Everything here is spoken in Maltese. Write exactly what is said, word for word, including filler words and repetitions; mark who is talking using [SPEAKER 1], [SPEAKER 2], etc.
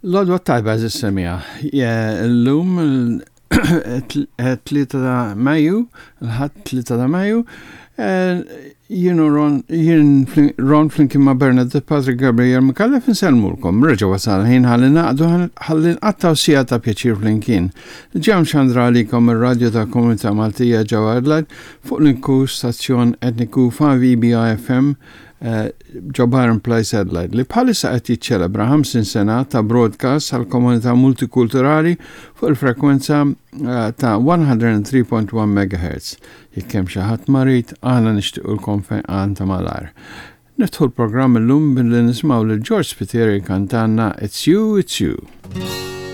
[SPEAKER 1] L-għodwa tajba semmiegħa. Illum tlieta ta' Mejju, il-Ħadd tlieta ta' Mejju, jien Ron, jien Ron flimkien ma' Bernadette Patrick Gabriel Micallef insellmulkom. Reġa' wasal ħin ħalli naqdu ħalli nqattgħu siegħa ta' pjaċir flimkien. Ġam xandra għalikom ir-radio ta' Komunità Maltija ġewwa Adelaide fuq l-uniku stazzjon etniku five E B I F M ġo Byron Place Adelaide li bħalissa qed jiċċelebra ħamsin sena ta' broadcast għal komunità multikulturali fuq il-frekwenza ta' mija u tlieta punt wieħed M H. Jekk hemm xi ħadd marid, aħna nixtiequlkom fejqan ta' malajr. Niftħu l-programm illum billi nismaw lil George Spiteri kantanna It's You, It's You.